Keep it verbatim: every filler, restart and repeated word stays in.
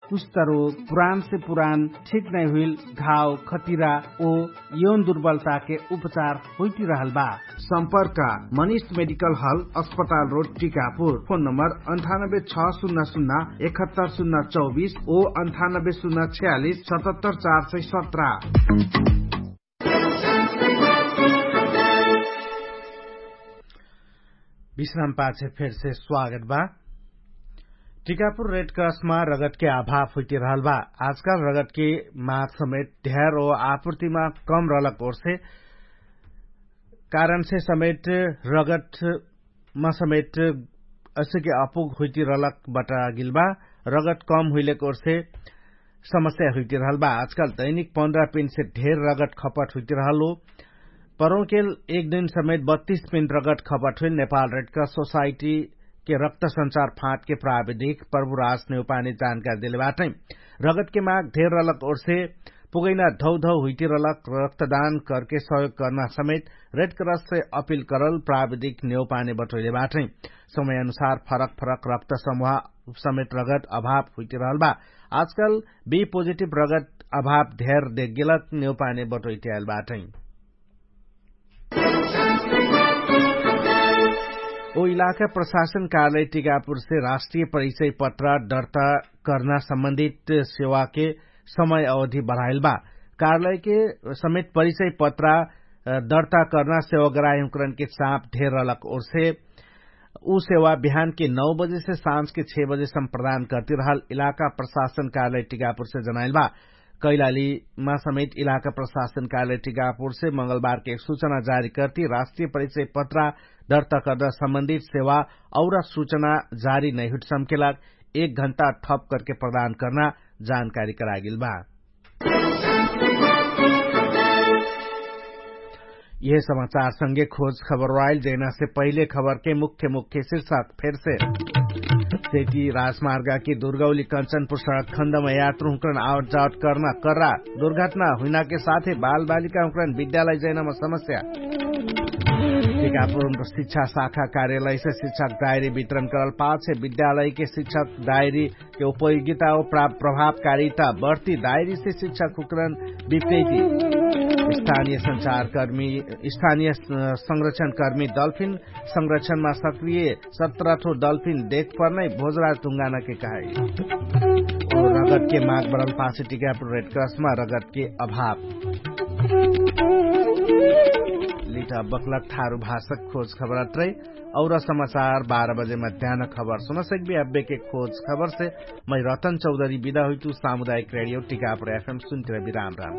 कुछ तरो पुरान से पुरान ठीक नै हुइल घाव खतिरा ओ यौन दुर्बलता के उपचार होइटी रहल बा। सम्पर्क मनिष मेडिकल हल अस्पताल रोड टिकापुर। फोन नम्बर अन्ठानब्बे छ सुन्ना सुन्ना एकहत्तर सुन्ना चौबिस ओ अन्ठानब्बे सुन्ना छ्यालिस सतहत्तर चार सय सत्र। विश्राम पाछे फेरसे स्वागत बा। टिकापुर रेड क्रसमा रगतके अभाव हुइतिरहल बा। आजकाल रगतके माग समेत ढ्यार ओ आपुर्तिमा कम रहलक ओर्से कारणसे समेत रगतमा समेत असिके अपुग हुइतिरहलक बटागिल बा। रगत कम हुइलेक ओर्से समस्या हुइतिरहल बा। आजकाल दैनिक पन्ध्र पिन्टसे ढेर रगत खपट हुइतिरहल हो। परौकेल एक दिन समेत बत्तीस पिन्ट रगत खपट हुइल नेपाल रेड क्रस सोसाइटीके रक्त संचार फाँटके प्राविधिक प्रभुराज नेउपाने जानकारी देले बाटै। रगतके माग ढेर रहलक ओर्से पुगैना धौधौ हुइतिरहलक रक्तदान करके सहयोग कर्ना समेत रेड क्रससे अपिल करल प्राविधिक नेउपाने बटोइले बाटै। समय अनुसार फरक फरक रक्त समूह समेत रगत अभाव हुइतिरहल बा। आजकाल बी पोजिटिभ रगत अभाव ढेर देखगेलक नेउपाने बटोइटियाल बाटै। ओ इलाका प्रशासन कार्यालय टिकापुरसे राष्ट्रिय परिचय पत्र दर्ता कर्ना सम्बन्धित सेवाके समय अवधि बढाइल बा। कार्यालयके समेत परिचय पत्र दर्ता कर्ना सेवाग्राही हुँकरनके चाप ढेर रहलक ओर्से उ सेवा बिहानके नौ बजेसे साँझके छे बजेसम्म प्रदान कर्तिरहल इलाका प्रशासन कार्यालय टिकापुरसे जनाइल बा। कैलालीमा समेत इलाका प्रशासन कार्यालय टिकापुरसे मंगलबारके एक सुचना जारी कर्ति राष्ट्रिय परिचय पत्रा दर्ता कर्दा सम्बन्धित सेवा और सुचना जारी नैहुट सम्केला एक घण्टा थप करके प्रदान कर्ना जानकारी करागेल बा। यह समाचार संगे खोज खबर वाइल जैना से पहिले खबर के मुख्य मुख्य शीर्षक फेर से सेती राजमार्गा के दुर्गौली कंचनपुर सड़क खण्डमा यात्रु हुँकरन आवट जावट कर्ना कर्रा दुर्घटना हुइना के साथे बालबालिका हुँकरन विद्यालय जैनामा समस्या। टिकापुर शिक्षा शाखा कार्यालय से शिक्षक डायरी वितरण करल पाछे विद्यालय के शिक्षक डायरी के उपयोगिता और प्रभावकारिता बढ्ती दायरी से शिक्षक हुँकरन विपरीति। स्थानीय संचारकर्मी स्थानीय संरक्षणकर्मी डल्फिन संरक्षणमा सक्रिय सत्र ठो डल्फिन देख पर्नै भोजराज ढुङ्गाना के कहाई। रगत के माग बढल पाछे टिकापुर रेड क्रसमा रगत के अभाव। लिटा बक्लक थारु भाषक खोज खबर अत्रै। और समाचार बाह्र बजे मध्यान खबर सुनसक्बी अब्बेके खोज खबरसे मै रतन चौधरी बिदा हुइतु सामुदायिक रेडियो टिकापुर एफएम सुन्तिर बिराम राम।